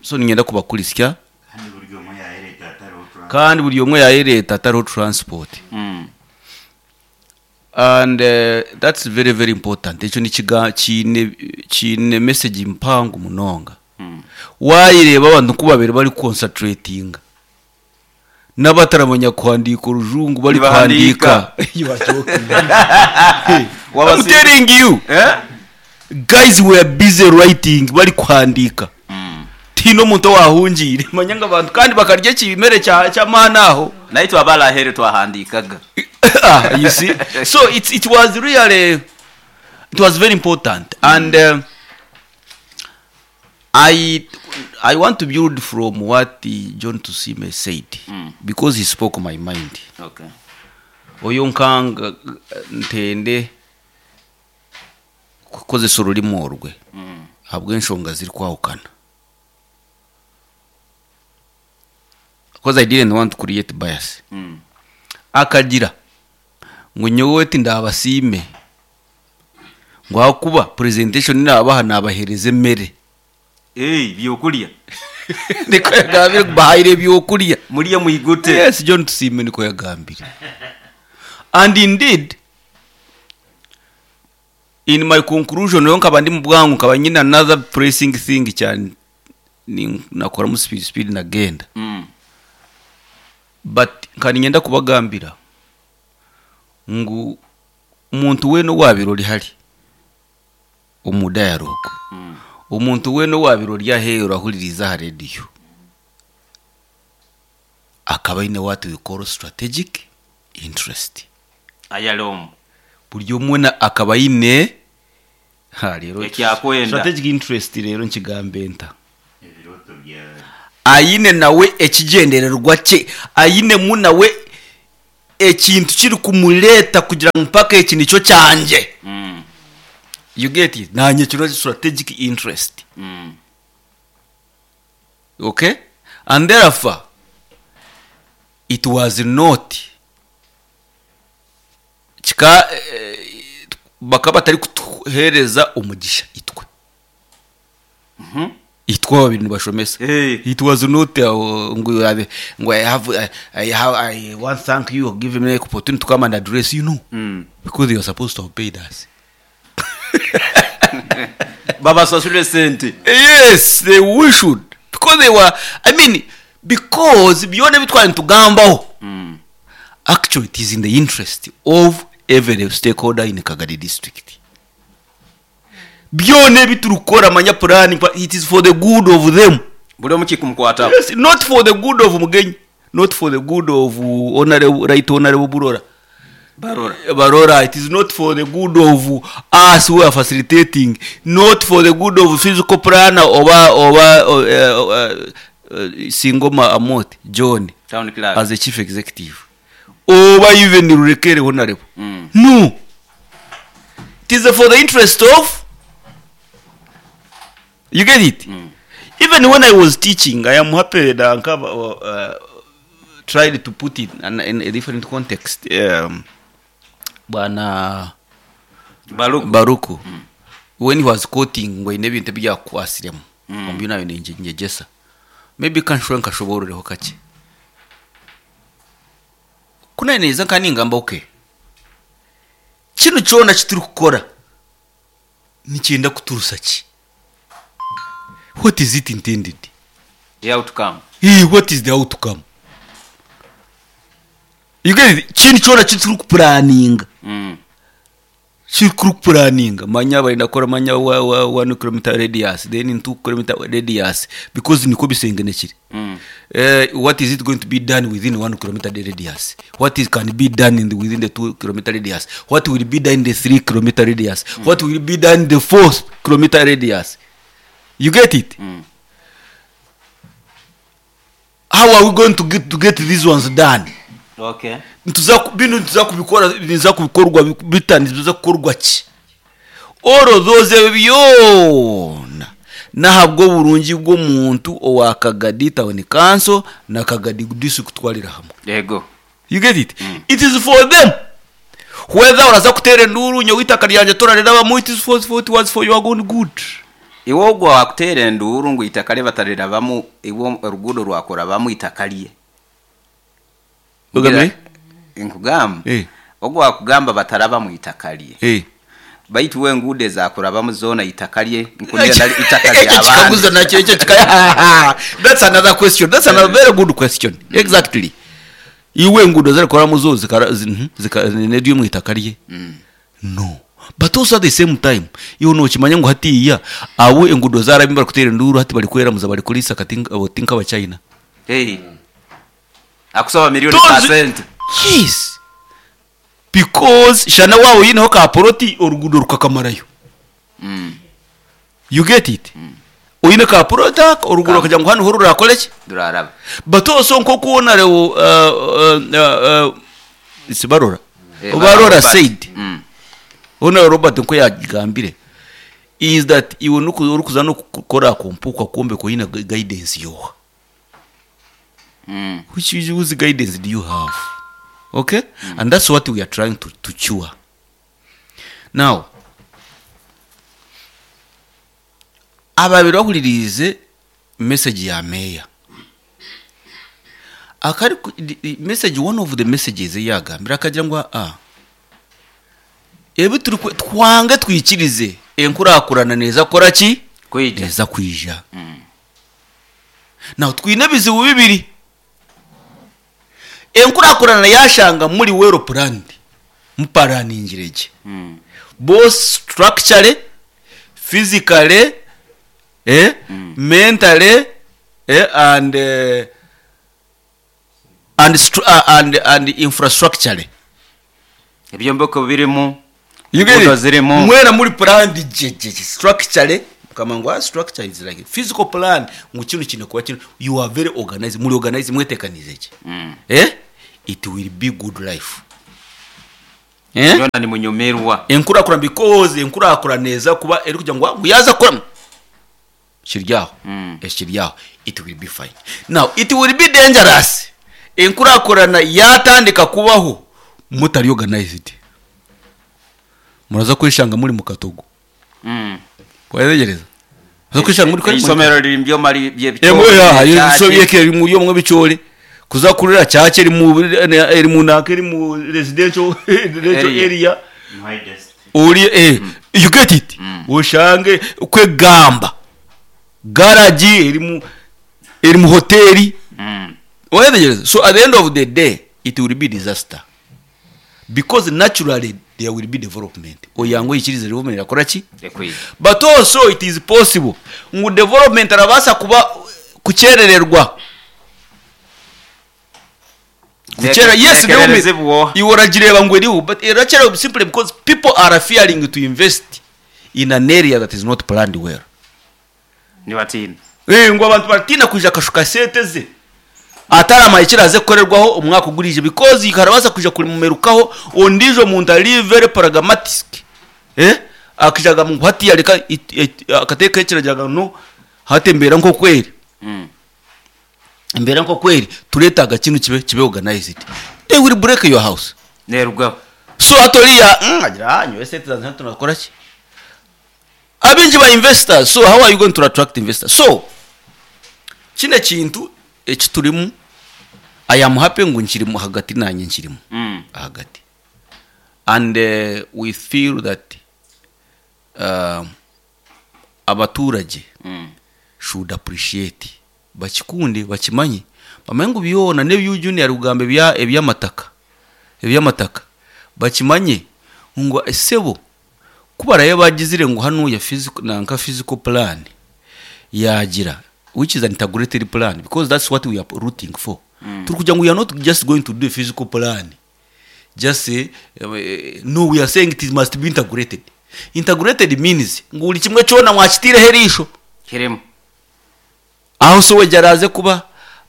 So ninyenda kubakurisya. Kandi buri omwe yayereeta atariho transport. Kandi buri omwe yayereeta atariho transport. And that's very very important. Ekyo nikiga kiine kiine message mpango munonga. Wayireeba abantu ku babere bari concentratinga. N'abataramanya kuhandiika orujungu bari Nibahandiika. kuhandiika. You are joking. I'm telling you. Guys were busy writing bari kuhandiika. Tihaine omuntu owahungiire. Manya ngu abantu kandi bakarya ekimere kya ky'amaani aho. Naitwe abari aheeru twahandiikaga. Ah, you see? So it was really, it was very important. And I want to build from what John Tusiime said, because he spoke my mind. Okay. Oyo nkanga ntende kukozesa orurimi orwe ahabw'enshonga zirikwahukana. Because I didn't want to create bias. Akagira ngu nyowe tindabasiime ngu ahakuba presentation nabaha nabahereza emere. Hey, byokurya. Niko yagambire ngu bahaire ebyokurya. Murye mwigute. Yes, John Tusiime niko yagambire. And indeed, in my conclusion, nyowe nkaba ndi mu bwangu, nkaba nyine another pressing thing kya ni nakoramu speed speed nagenda. But nkaba niinyenda kubagambira ngu omuntu weena owaabaire ori hari omu dialogue, omuntu weena owaabaire ori aheeru ahuririize aha rediyo, akaba aine what we call strategic interest. Ayari omu. Buri omwe akaba aine Ha, reero Ekyakwenda. Strategic interest reero nkigambe nta? Aine nawe ekigyendererwa kye, ainemu nawe ekintu kirikumureeta kugira ngu mpaka eki nikyo kyangye. You get it? Naanye kino strategic interest. Okay? And therefore, it was not kika bakaba batarikutuheereza omugisha itwe. Itwe ababiri nibashomesa. It was not ngu ngu I have I have I want thank you give me opportunity to come and address you no. Because they were supposed to have paid us. Babasasure sente. Yes, they we should. Because they were, I mean, because byona ebi twari nitugambaho, actually it is in the interest of every stakeholder in Kagadi district. Byona ebi turikukora manya plan, but it is for the good of them. Buri omwe kikumukwataho. Yes, not for the good of Mugenyi, not for the good of honorable, right honorable Burora. Barora. Barora, it is not for the good of us who are facilitating, not for the good of physical planner oba oba Singoma Amot John Town clerk. as the chief executive. Oba even Rurekere honorable. No. It is for the interest of, you get it? Even when I was teaching, I am happy that Ankaba tried to put it in a different context. Bwana Baruku. Baruku. When he was quoting ngo ine bintu byakwasiremu. Ombi nayo ninjegyesa. Maybe kanshwe nkashobororeho kakye. Kunaneza nka ningamba okay. Kino kyona kituri kukora nikyenda kuturusa ki? What is it intended? The outcome. Hey, what is the outcome? You get it? Kino kyona kituri kupuraninga. Kiri kupuraninga. Manya barenda kukora manya wa 1 kilometer radius, then 2 kilometer radius, because niko bisengenekire. What is it going to be done within 1 kilometer radius? What is can be done in the, within the 2 kilometer radius? What will be done in the 3 kilometer radius? What will be done in the 4 kilometer radius? You get it? How are we going to get these ones done? Okay. Bino nituza kubikora, niza kubikorwa bita, niza kukorwa ki? All of those byona nahabwo burungi bw'omuntu owa Kagadi Town Council na Kagadi District kutwarira hamwe. Yego. You get it? It is for them. Whether uraza kutera enduru nyowe itaka ryanje torarirabamu, it is for, it was for your own good. Iwe ogwo wakutera enduru ngu itaka rye batarirabamu, iwe oruguudo rwakorabamu itaka rye. Ogambe? Nkugamba. Ogwo wakugamba batarabamu itaka rye. Baitu we enguudo ezakurabamu zoona itaka rye, nkunira nari itaka Ekyo ry'abandi. kikaguzo nakyo, ekyo kika- That's another question. That's another very good question. Exactly. Iwe enguudo zirikoramu zo zika, neryo omu itaka rye. No. But also at the same time, iwe nokimanya ngu hatiya abo enguudo zarabimba barikuteera enduuru hati barikweramuza barikurisa kati oti nk'abachina. Hey. Akusaba milioni Tozi- percent. Yes. Because shana wawe oyineho ka poroti oruguudo rukakamarayo. You get it? Oyine ka poroti aka oruguudo rukagira ngu hanu ho rurakore ki? Ruraraba. But also nk'oku onarewo, si Barora. Barora Robert. said. Honorable Robert nko yagambire is that iwe orikuza nokukora kompuka kwombeka oyine guidance yoha. Which is, whose guidance do you have? Okay? And that's what we are trying to cure. Now, ababiri bahuririze message ya mayor. Akari ku-, the, the message, one of the messages yagambira akagira ngu, ebi turi twange twikirize enkurakurana neza kora ki? Kwija. Neza kwija. Now twine ebizibu bibiri. Enkurakurana yashanga muri well planned. Muparaningirege. Both structurally, physically, mentally, and and infrastructurally. Ebyombeko birimu, You get Enguudo it? zirimu. Mwena muri planned gye gye gye structurally mukama ngu ah, structure is like physical plan ngu kinu kine kuba kinu you are very organized muri organized mwetekanize gye eh it will be good life eh Byona nimunyumirwa. enkurakurana because enkurakurana eza kuba erikugira ngu ah, ngu yaza kukora kiri aho ekiri aho it will be fine now it will be dangerous enkurakurana yatandika kubaho mutari organized muraza kweshanga muri mu katogo wayetegereza muraza kweshanga muri Eisomero riri mu byoma Emwe ya by'ebicoori. yeke eri mu byomwe bicoori kuza kurira church eri mu eri mu naka eri mu residential residential Area. area ori eh you get it oshange kwegamba garage eri mu eri mu hoteli wayetegereza so at the end of the day it will be disaster because naturally there will be development oyangu ikirize development yakora ki but also it is possible ngu development arabaasa kuba kukyerererwa kukyera yes development Nekererezibwa. iwe oragireba ngu eriho but erakyererwa simply because people are fearing to invest in an area that is not planned well Nibatiina. Eh, ngu abantu baratiina kwija akashuka sente ze ataramaye kiraze kukorerwaho omwaka ogurije because karabaasa kwija kurimumerukaho ondiijo muntu ari very pragmatic eh akija agamba ngu hatiya reka akateeka ekiragiro agamba no hati embeera nk'okweri embeera nk'okweri tureetaaga kinu kibe kibe organized they will break your house Neerugaho. so hati oriya agira ah nyowe sente zange hati tunakora ki abingi ba investors so how are you going to attract investors so kino ekintu ekiturimu i am happy ngu nkirimu hagati nanye nkirimu hagati and we feel that abaturage should appreciate bakikunde bakimanye bamanye ngu byona n'ebyu junior kugamba ebya ebyamataka ebyamataka bakimanye ngu sebo kubarayo bagizire ngu hanu ya physical nanka physical plan yagira which is an integrated plan because that's what we are rooting for turi kugira ngu we are not just going to do a physical plan just say no we are saying it must be integrated integrated means ngu buri kimwe kyona mwakitiireho eriisho Kirimu. aho sewage araze kuba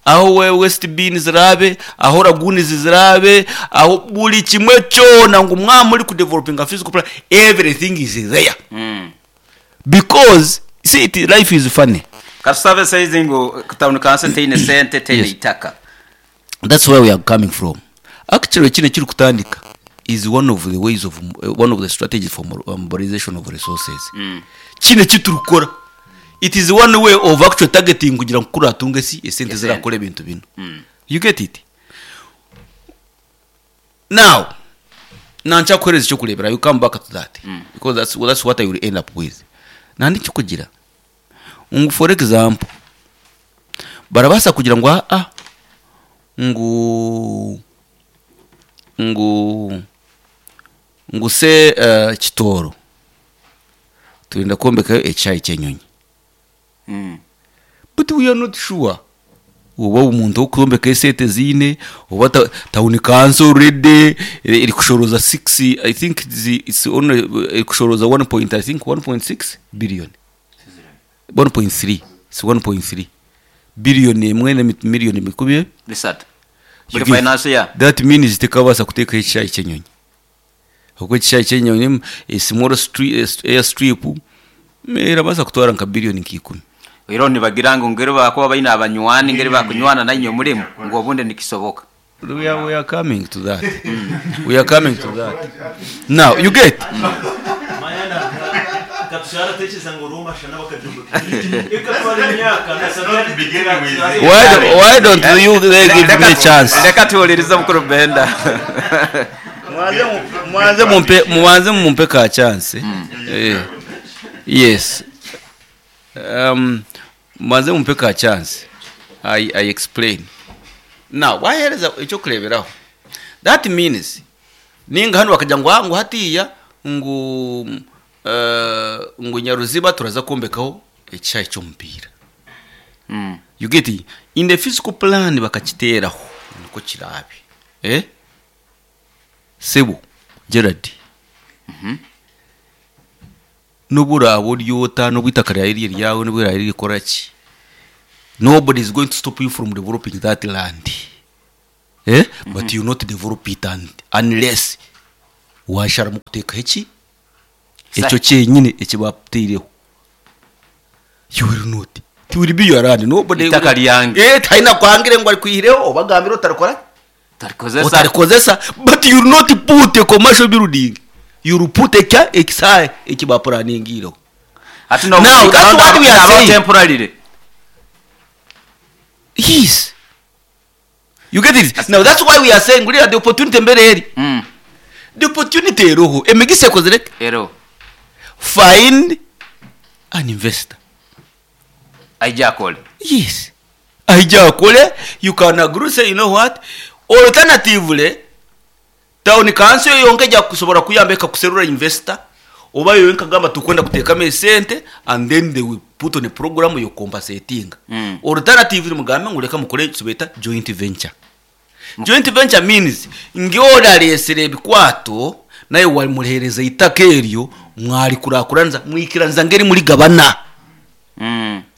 aho we west bin zirabe aho lagoons zirabe aho buri kimwe kyona ngu mwaba muri kudevelopinga physical plan everything is there because see it, life is funny Katusabe saizi ngu town council teine sente teine Yes. itaka. that's where we are coming from actually kino ekiri kutandika is one of the ways of one of the strategies for mobilization of resources kino ekiturikukora it is one way of actually targeting kugira ngu kuratunga esi esente Esente. zirakora ebintu bino you get it now nankyakuhereza ekyokureebera you come back to that because that's, well, that's what i will end up with nandi kikugira ngu for example barabaasa kugira ngu aa ngu ngu ngu se kitooro turenda kwombekayo ekishaayi ky'enyonyi but we are not sure oba omuntu okwombeka esente ziine oba town council already erikushoroza 6 i think it's only erikushoroza 1 point, i think 1.6 billion 1.3 it's 1.3 billion emwe na million mikumi Bisatu. Buri finance year. That means tekabaasa kuteekaho ekishaayi ky'enyonyi oku ekishaayi ky'enyonyi a small air strip erabaasa kutwara nka billion nka ikumi Ero nibagira ngu ngeri bakuba baine abanywani ngeri bakunywana nainywe murimu ngu obundi nikisoboka. We are coming to that. We are coming to that. Now you get. Why don't you they give me a chance? Reka tuwulirize mukuru Benda. Mubanze mumpe, mubanze mumpe ka chance. Yes. Mubanze mumpe ka chance. I explain. Now, wahereza ekyokureeberaho. That means ninga hanu bakagira ngu ngu hatiya ngu ngu Nyaruziba turaza kwombekaho ekishaayi ky'omupiira. You get it? In the physical plan bakakiteeraho nikwo kiraabe. Sebo Gerard. N'obu oraabe ori ota, n'obu eitaka ryawe riri eryawe, n'obu riraabe ririkora ki, nobody is going to stop you from developing that land. Eh? But you will not develop it unless waasharamu kuteekaho eki? Ekyo kyenyine eki baakutaireho. You will not. It will be your land. Nobody Eitaka ryange. Eh, tihaine akwangire ngu arikwihireho oba agambire otarikora ki? Otarikozesa. Otarikozesa. But you will not put a commercial building. You will put ekya ekisaayi eki baapuraningiireho. Hati Now, that's what we are saying. temporarily. Yes. You get it? Now that's why we are saying ngurira the opportunity mbere eri. The opportunity eroho. Emigisa ekozire ki? Eroho. Find an investor. Aije akore. Yes. Aije akore, you can agree say you know what? Alternatively, town council yonka eja kusobora kuyamba ekakuserura investor oba yo ekagamba tukwenda kuteekamu esente and then they will put on a program y'okukompansetinga. Alternatively mugambe ngu reka mukore ekibeeta joint venture. Joint venture means ngu ori areetsire ebikwato naiwe wamuheereza eitaka eryo mwarikurakuranisa mwikiraniza ngu eri murigabana.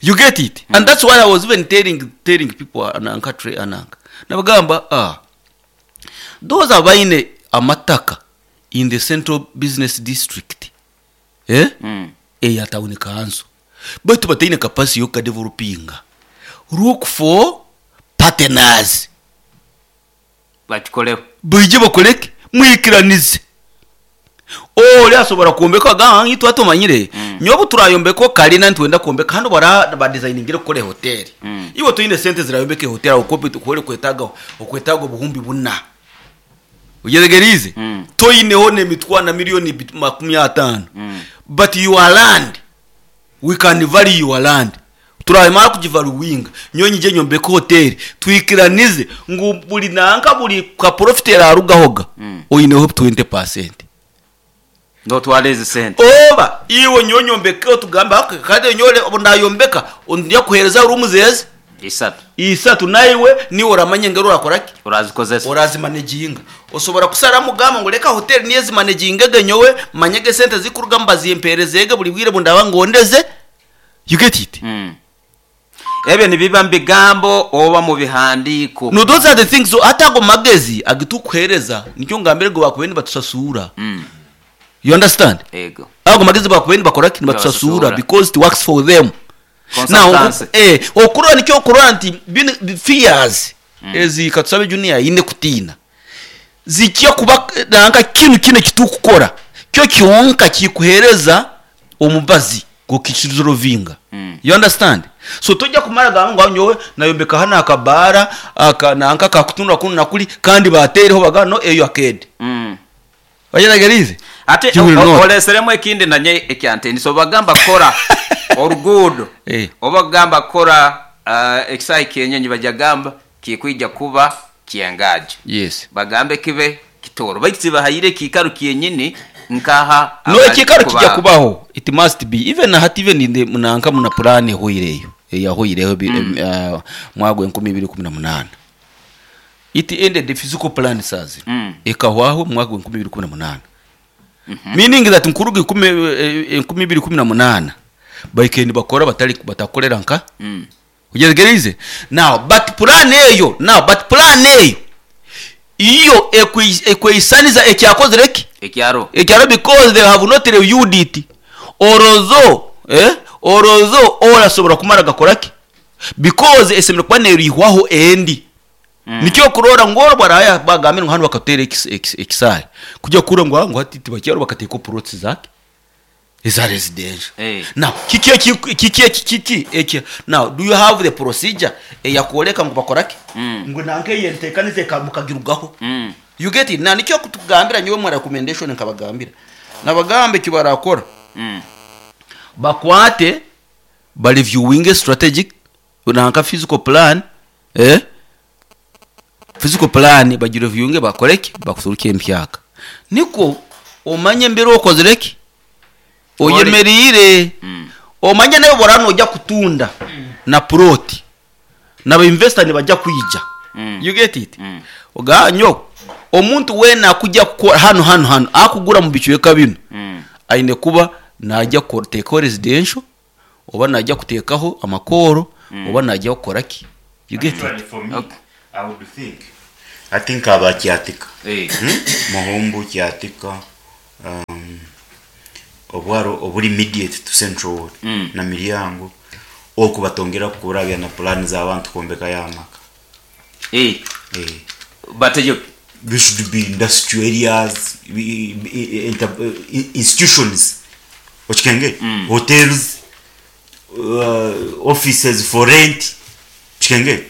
You get it? And that's why I was even telling telling people nanka Trey ananka nabagamba ah those abaine amataka in the central business district eh eya town council baitu bataine capacity y'okukadevelopinga look for partners Bakikoreho. Baije bakore ki? Mwikiranize. Ori asobora kwombeka agamba ngu itwe tumanyire, nyowe obu turayombeka okarina nitwenda kwombeka hanu bara badizayiningire kukora ehoteri. Iwe toine sente zirayombeka ehoteri ahabw'okuba oku orikwetaaga okwetaaga obuhumbi buna. Oyetegeriize? Toineho n'emitwaro na miriyoni 50,000 but your land We can value your land Turamara kugivaluwinga nyowe nyije nyombeke hoteri twikiranize ngu buri nanka buri ka profit erarugahoga oineho 20%. Notwara ezi sente. Oba iwe nyowe nyombekeho tugambe okay kare nyowe obu nayombeka ndya kuhereza rooms ezi Isatu. isatu naiwe niiwe oramanya engeri orakora ki? Orazikozesa. Orazimanejinga. Osobora kusaramu ogamba ngu reka hoteri niyo ezimanejingege nyowe manyege esente ezikurugamu bazimperezege buri bwire obundaba ngondeze. You get it? Ebyo nibiba mu bigambo oba mu bihandiiko. No those are the things so hati ago magezi agitukuhereza nikyo ngambire ngu bakubaire nibatusasuura. You understand? Ego. Ago magezi bakubaire nibakora ki? Nibatusasuura Nibatusasuura. because it works for them. Now, Consultancy. eh, okurora nikyo okurora nti binu fears ezi katusabe junior aine kutiina zikya kuba nanka kinu kinu ekitukukora kyo kyonka kikuhereza omubazi gukikizorovinga. You understand? So tojja kumara gamba ngu nyowe nayombeka hanu akabaara aka nanka kakutunura kunu nakuri kandi bateereho bagamba no eyo arcade. Oyetegeriize? Ate You will not. oreseremu ekindi nanye ekyantinisa obagamba kukora oruguudo Eh. oba kugamba kukora ekisaayi ky'enyonyi baija kugamba kikwija kuba ky'engajo. Yes. Bagambe kibe kitooro baitu tibahaire ekiikaro kyenyini nkaha No abari ekiikaro kuba. kija kubaho it must be even hati even in the nanka muna puraani ehweireyo eyahweireho mwaka gwa 2018 it ended the physical plan saazi ekahwaho omu mwaka gwa 2018 meaning that nkuruga 2018 baikaire nibakora batari batakukorera nka oyetegeriize now but puraani eyo now but puraani eyo iyo ekweisaniza ekyakozire ki? Ekyaro. Ekyaro because they have not reviewed it orozo eh orozo orasobora kumara gakora ki? Because esemeriire kuba nerihwaho endi. Nikyo okurora ngu obu baraabe bagambire ngu hanu bakatuteera ekisaayi kugira kuhurira ngu ngu hati tibakyaro bakateekaho plots zaki? Eza residential. Now kiki eki kiki eki kiki eki now do you have the procedure eyakworeka ngu bakora ki? Ngu nanka eyi enteekaniza eka mukagirugaho. You get it? Now nikyo kutugambira nyowe omu recommendation nkabagambira. Nabagamba eki barakora bakwate ba reviewinge strategic nanka physical plan eh physical plan bagi reviewinge bakore ki? Bakuturukye empyaka. Nikwo omanye embera okozire ki? Oyemereire. Omanye nawe oraba noija kutunda na plot na ba investor nibaija kwija. You get it? Ogambe nyowe omuntu weena akuja kukora hanu hanu hanu akugura omu bicweka binu aine kuba Naija kuteekaho residential oba naija kuteekaho amakooro oba naija kukora ki? You get it? Actually for me, I would think hati nkaba Kyatika, Muhumbu, Kyatika, obwaro oburi immediate to Central Ward na Miryango oku batongera kurabya na plan z'abantu kwombekayo amaka. Eh. Bateyo. There should be industrial areas, institutions, okikengere? Hotels, offices for rent, okikengere?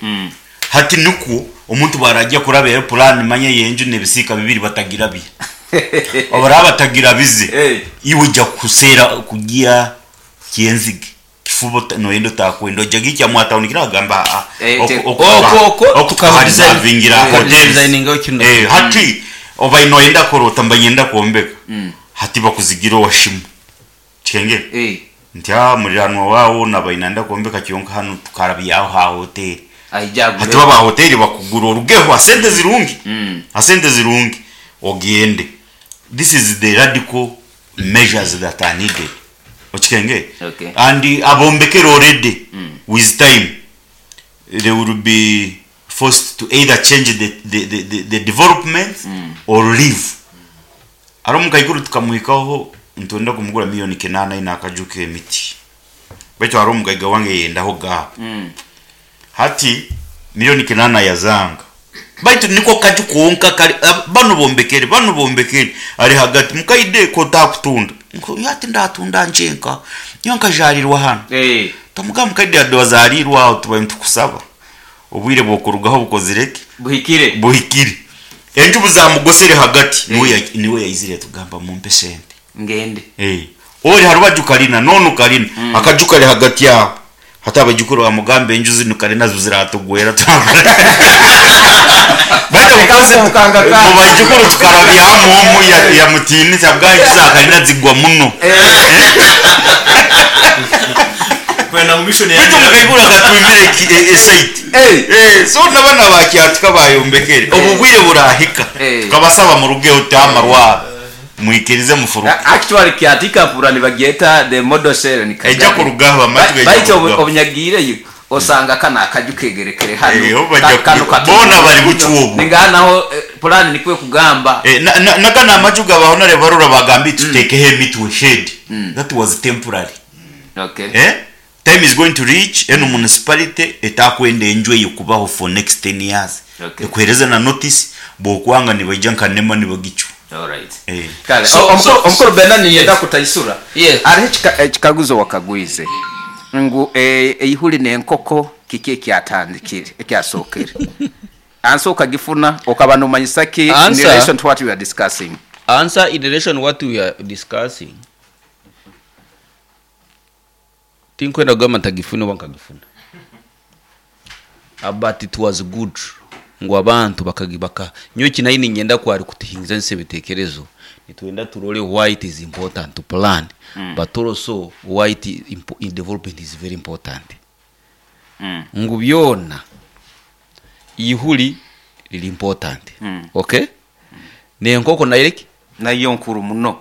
Hati nikwo omuntu bwarajya kurabyayo plan manya y'enju n'ebisiika bibiri batagirabya. Obu oraba batagirabize, iwe oija kuseera kugiha kyenzige. Kifuba ota- noyenda otakwenda ojja gikya mwa town kira agamba ah, Eh, oku- te- oku- Okwo- okwo oku- tukabidesign- tukabidesigningira hotels. tukabidesigningaho kinu. Eh, hati oba noyenda kurota mba nyenda kwombeka hati bakuzigira owashimu kikengere Eh. nti ah muriranwa wawo naba inanda kwombeka kyonka hanu tukarabyaho ha hoteli Aija agure. hati baba hoteli bakugura orugeho asente zirungi asente zirungi ogende. This is the radical measures that are needed. Okikenge? Okay. And abombekere already with time they will be forced to either change the development or leave. Ari omukaikuru tukamuhikaho nitwenda kumugura million kenana aine akaju k'emiti. Baitu hariho omugaiga wange yayendaho gap. Hati million kenana yazanga. Baitu niko kaju kwonka kari banu bombekere, banu bombekere ari hagati mukaide ko takutunda. Nko yati ndatunda njenka. Nyo nkajarirwa hano. Tamuga mukaide adozarirwa aho tuba nitukusaba. Obwire bwokurugaho bukozireke. Buhikire. Buhikire. Enju buzamugosere hagati. Niwe yaizire tugamba mumpe sente. Ngende. Ori harubaju karina nonu karina. Akaju kari hagati yaho. Hata abajukuru bamugambe enju zinu karina zo ziratugwera. Baita mukaze Mukanga ka. mu bajukuru tukarabya omu ya mutini sabwa enju za karina zigwa muno. Kwenda mu mission ya Baitu mukaigura akatwimire esite. So n'abana ba Kyatika bayombekere. Obu bwire burahika. Tukabasaba murugeho tamarwa. Mwikirize mufuruke. Actually Kyatika pura nibagyeta the model cell ni Kagari. Ejja kurugaho amatu ejja Baitu kurugaho. obunyagiireyo osanga kana akaju kegerekere hano. Ho bajja Kano kubi- bona bari bucubu. Ninganaho plan nikwe kugamba. Nagana amaju gabaho nare barura bagambi tutekeho emitwe shade. That was temporary. Time is going to reach eno municipality etakwenda enju eyo kubaho for next 10 years. Ekuhereza na notice bwokwanga nibaija nka nema nibagicu. All right. Kale, omukuru Bernard niyenda kutaisura. Hariho ekikaguzo wakagwize ngu eihuri n'enkoko kiki ekyatandikire ekyasookere. Answer okagifuna okaba nomanyisa ki in Answer. relation to what we are discussing? Answer in relation to what we are discussing. Tinkwenda kugamba ntagifuna oba nkagifuna. But it was good ngu abantu bakagibaka. Nyowe eki nayo niinyenda ku ari kutuhingiza ensi ebitekerezo. Nitwenda turore why it is important to plan, but also why it is in development is very important. Ngu byona ihuri riri important. Okay? N'enkoko nayo eki? Nayo nkuru muno.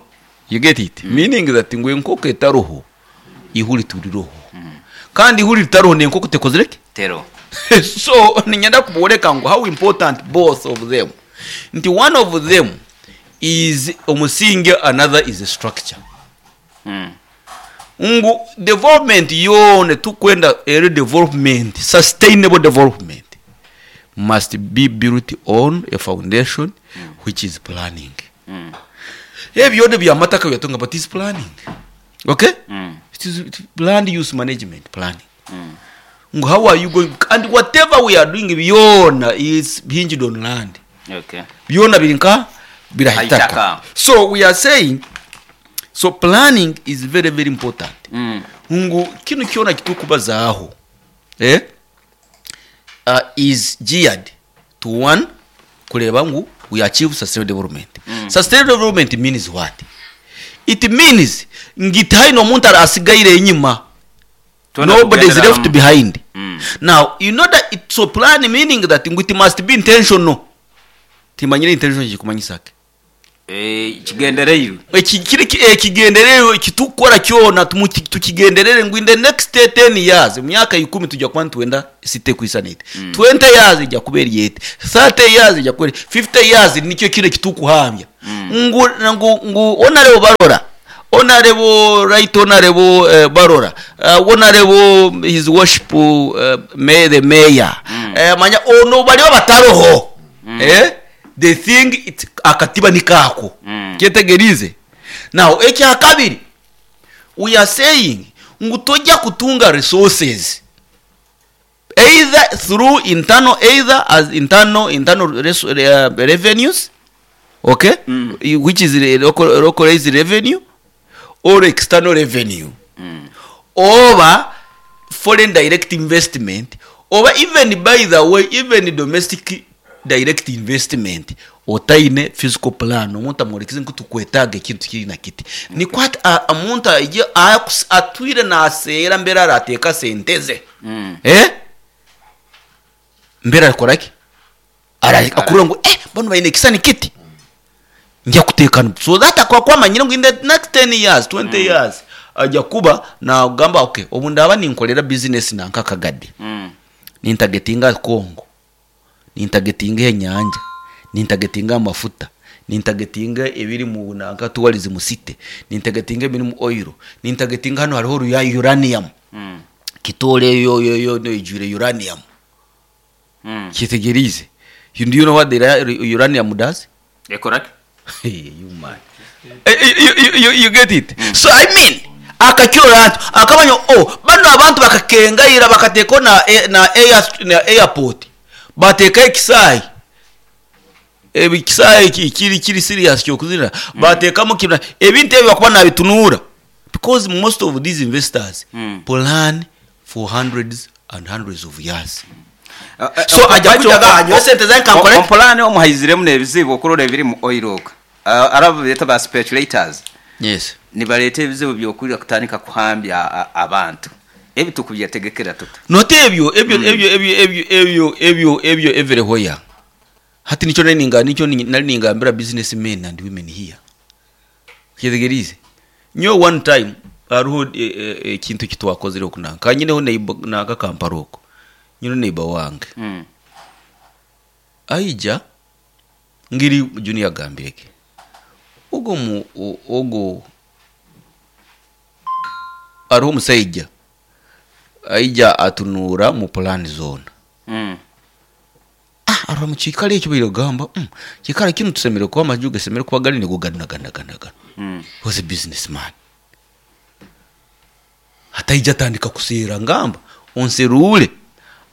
You get it? Meaning that ngu enkoko etaroho, ihuri turiroho. Kandi ihuri ritaroho n'enkoko tekozire ki? Tero. So ninyenda kuboreka ngu how important both of them. Nti one of them is omusinge, another is a structure. Ngu development yone tukwenda eri development, sustainable development must be built on a foundation which is planning. Ebyo bya mataka byatunga, but is planning. Okay? It is land use management planning. Ngu how are you going, and whatever we are doing byona is hinged on land. Byona biri nka birahitaka. Haitaka. So we are saying, so planning is very, very important. Ngu kinu kyona kitukubazaho, is geared to one kureba ngu we achieve sustainable development. Sustainable development means what? It means ngitaino omuntu asigaire enyuma. Tuona Nobody is kugendera left mu- behind. Now, you know that it's so plan meaning that it must be intentional. Timanyire intention jikumanyisake. Kigendereirwe. Eki kiri ekigendererwa eki turikukora kyona tukigenderere ngu in the next ten years, omu myaka ikumi twija kuba nitwenda city ekwisana eti, 20 years eija kuba eri eti, 30 years eija kuba eri eti, 50 years nikyo kinu eki turikuhamya ngu ngu ngu Honourable Barora, Honourable Right Honourable Barora, Honourable His Worship the Mayor, manya ono bariba bataroho, The thing it akatiba niko ako. Kyetegeriize? Now ekya kabiri, we are saying ngu tojja kutunga resources either through internal either as internal internal revenues okay which is local localized revenue or external revenue oba foreign direct investment oba even by the way even domestic direct investment otaine physical plan omuntu amworekize ngu tukwetaaga ekintu kiri na kiti nikwo hati omuntu aije atwire naseera mbere arateeka sente ze eh mbere arakora ki Ara- akurora ngu eh banu baine ekisani kiti nja kuteekana so that akuba ku amanyire ngu in the next 10 years 20 years aja kuba nagamba okay obu ndaba ninkorera business nanka akagade nintagetinga Congo nintagetinga enyanja nintagetinga amafuta nintagetinga ebiri mu nanka tourism city nintagetinga ebiri mu oil nintagetinga hanu hariho uranium Kitole yo yo yo eijwire uranium Kyetegeriize. You, do you know what the uranium does? Ekora ki? Hey, you man. You, you, you, you get it? So I mean, akakirora ati akamanya oh bano abantu bakakengaira bakateekaho na, eh, na, air, na airport bateekaho ekisaayi ekisaayi kiri kiri serious kyokuzirira bateekamu kina ebintu ebyo bakuba nabitunuura because most of these investors plan for hundreds and hundreds of years So aja kuja ga anyowe sente zange kankore. Omu pulaani omu haiziremu n'ebizibu okurora ebiri mu oil oku. Hariho abu beeta ba speculators Yes. nibareeta ebizibu by'okwija kutandika kuhambya abantu. Ebi tukubyetegekera tuta? Not ebyo ebyo ebyo ebyo ebyo ebyo ebyo ebyo everywhere. Hati nikyo nari ninga nikyo nari ningambira business men and women here. Kyetegeriize? Nyowe one time hariho ekintu eki twakozire oku nanka nyineho neighbor nanka Kampala okwo. Nyineho neighbor wange. Aija ngiri Junior agambire ge. Ogwo mu ogwo hariho omusaija aija atunuura mu plan zoona. Ah, arora mu kiikaro ekyo baire kugamba mm, kiikaro kinu tusemeriire kuba amaju gasemeriire kuba gari nigo ganu na ganu na ganu na ganu. He was a business man. Hati aija atandika kuseera ngamba onseruure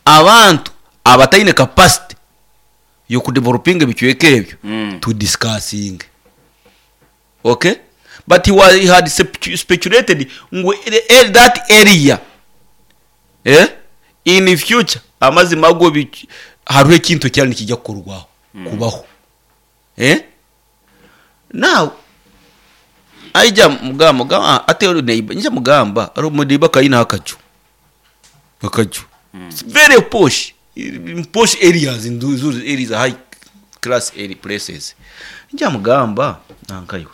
abantu abataine capacity y'okudevelopinga ebicweka ebyo tu discussinge. Okay? But he was, he had speculated ngu that area eh, in future amazima ago hariho ekintu ekyari nikija kukorwaho kubaho eh? Now aija mugamba mugamba ah, ate ori neighbor nija mugamba ari omu neighbor akayinaho akaju akaju It's very posh in posh areas in those areas high class area places nija mugamba nankaiwe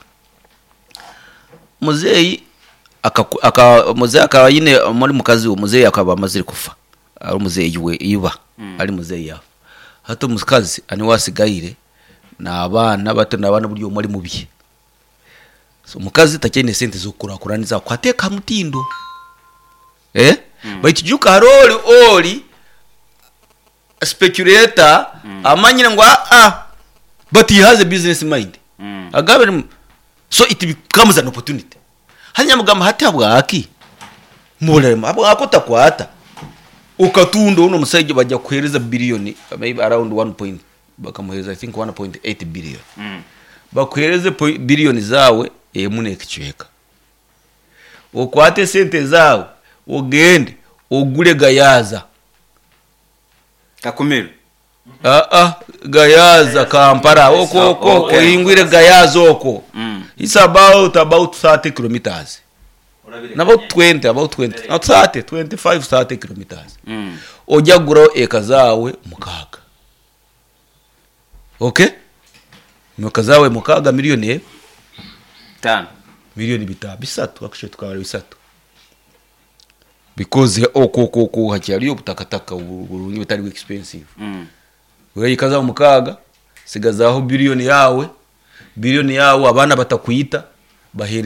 muzeeyi akaku aka muzeeyi akaba aine muri mukazi we muzeeyi akaba amazire kufa ari muzeeyi we iba ari muzeeyi yaafa hati omukazi niwe asigaire n'abaana bato n'abaana buri omwe ari mubye so omukazi takyaine sente z'okukurakuraniza kuhateeka aha mutindo eh baitu ijuka hariho ori ori speculator amanyire ngu aa but he has a business mind agambire so it becomes an opportunity hati nyamugamba hati habwaki murema habwaki otakwata okatunda onu omusaija baija kukuhereza billion maybe around one point bakamuhereza i think 1.8 billion bakuhereze billion zaawe emu nekicweka okwate esente zaawe ogende ogure gayaza Kakumiro. Aa Gayaza Kampala okwo okwo Okay. oyingwire Gayaza okwo it's about about 30 kilometers na about 20 about 20 not 30 25 30 kilometers ojya kuguraho eka zaawe mukaaga okay Nokazawe mukaaga miliyoni Tano. Miliyoni bita bisatu, actually tukabara bisatu because okwo okwo okwo hakyariyo obutakataka burungi butari expensive. Weyikaza mukaaga, sigazaho biliyoni yawe, biliyoni yawe abaana batakwita bahere.